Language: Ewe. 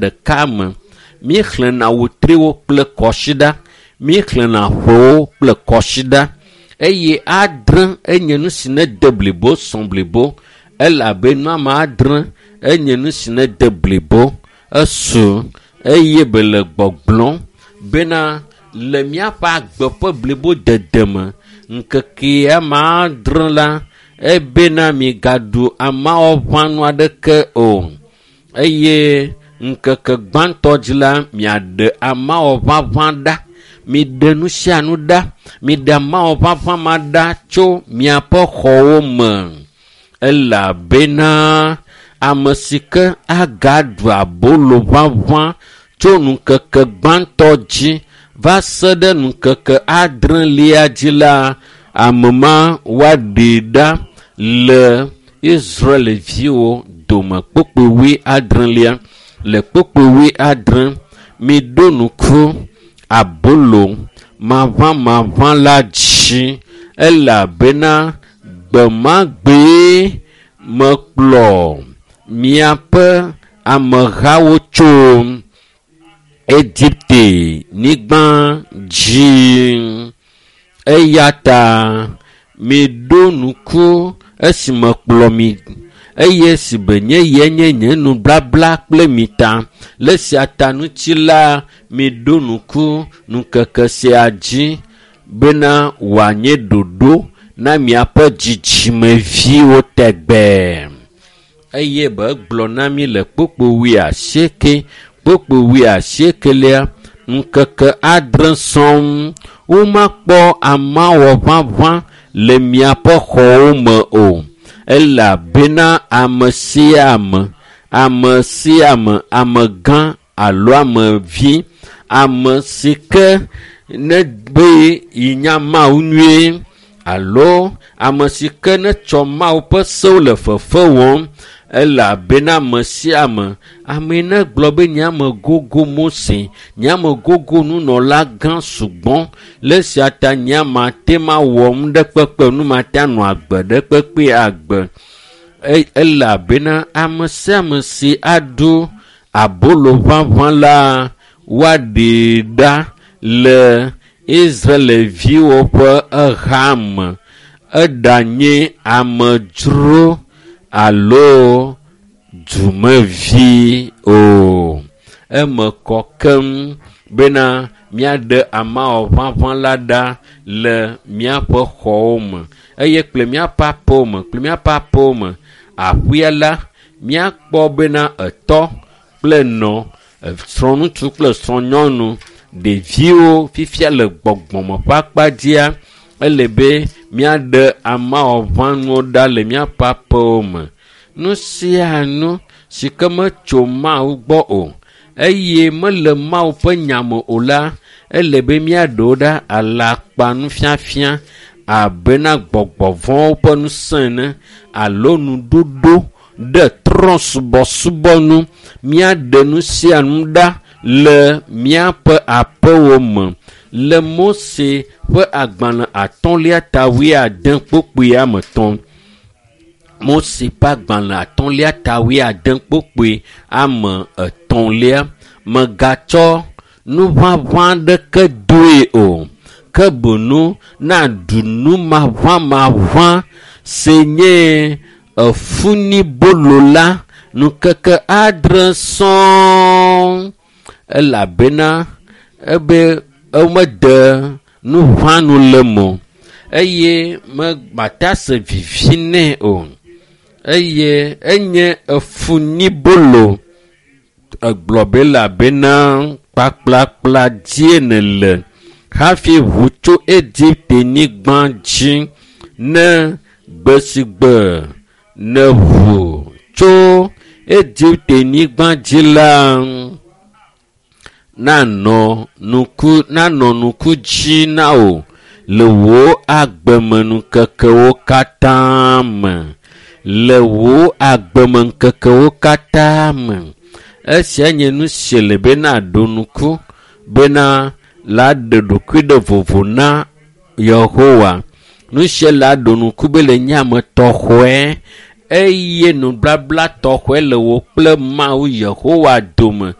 Ɖeka me. Míexlẽna wetriwo kple kɔsiɖa, míexlẽna ƒewo kple kɔsiɖa eye adre enye nu si nede blibo sɔ blibo elabe nu ame adre enye nu si nede blibo esu eye be le gbɔgblɔm bena le míaƒe agbe ƒe blibo dede me ŋkeke ame adre la ebena migaɖu amawɔʋãnu aɖeke o eye ŋkeke gbãtɔ dzi la miaɖe amawɔʋaʋã ɖa. Miɖe nu sia nu ɖa. Miɖe amawɔʋaʋã ma ɖa tso miaƒe xɔwo me elabena ame si ke agaɖu abolo ʋaʋã tso ŋkeke gbãtɔ dzi va se ɖe ŋkeke adrelia dzi la, ame ma woaɖee ɖa le Israelviwo dome. Kpukpui wuiadrelia le kpukpui wuiadre miɖo ŋku abolo maʋamaʋã la dzi elabena gbe ma gbee mekplɔ miaƒe amehawo tso Egipte nyigba dzi. Eya ta miɖo ŋku esi mekplɔ mi eye esi be nye ye nye nye nubabla kple mi ta. Le esia ta ŋuti la, miɖo ŋku ŋkeke sia dzi bena wòanye ɖoɖo na miaƒe dzidzimeviwo tegbee. Eye be egblɔ na mi le kpukpui wuiasieke, kpukpui wuiasiekelia, ŋkeke adre sɔŋ womakpɔ amawɔʋaʋã le miaƒe xɔwo me o elabena ame sia ame, ame sia ame, amegã alo amevi, ame si ke nebe yi nya Mawu nyuie alo ame si ke netsɔ Mawu ƒe sewo le fefe wɔm elabena ame sia ame, ame ne gblɔ be nye ame gogo Mose, nye ame gogo nunɔla gã sugbɔ, le esia ta nye mate mawɔ nu ɖe kpekpe nu mate anɔ agbe ɖe kpekpe agbe. Elabena ame sia ame si aɖu abolo ʋaʋã la, woaɖee ɖa le Israelviwo ƒe eha me. Eɖanye amedzro alo dumevi o. Eme kɔ keŋ bena míaɖe amawɔʋaʋã la ɖa le míaƒe xɔwo me eye kple míaƒe aƒewo me kple míaƒe aƒewo me. Aƒea la, míakpɔ bena etɔ kple nɔ, srɔ̃ŋutsu kple srɔ̃nyɔnu, ɖeviwo fifia le gbɔgbɔme ƒe akpa dzia, ele be míaɖe amawɔʋãnuwo ɖa le míaƒe aƒewo me. Nu sia nu si ke metso Mawu gbɔ o eye mele Mawu ƒe nya me o la, ele be míaɖe wo ɖa alakpanufiafia abena gbɔgbɔ vɔ̃wo ƒe ŋusẽ ene alo nuɖoɖo ɖe trɔ̃subɔsubɔ nu. Míaɖe nu sia nu ɖa le míaƒe aƒewo me. Le Mose ƒe agbalẽ atɔ̃lia ta wuiade kpukpui ame etɔ̃. Mose ƒe agbalẽ atɔ̃lia ta wuiade kpukpui ame etɔ̃lia. Mègatsɔ nuʋaʋã aɖeke doe o, ke boŋ naɖu nu maʋamaʋã si nye efunibolo la ŋkeke adre sɔŋ elabena ebe womede nuʋãnu le eme o eye mate ase vivi nɛ o eye enye efunibolo. Egblɔ be elabena kpakplakpla dzie nèle hafi ʋu tso Egipte-nyigba dzi ne gbe si gbe nèʋu tso Egipte-nyigba dzi la nanɔ ŋku nanɔ ŋku dzi na wò le wò agbemeŋkekewo katã me. Le wò agbemeŋkekewo katã me. Esia nye nu si le be naɖo ŋku bena la ɖe ɖokui ɖe vovo na Yehowa. Nu sia la ɖo ŋku be le nye ame tɔxɔe eye nubabla tɔxɔe le wò kple Mawu Yehowa dome.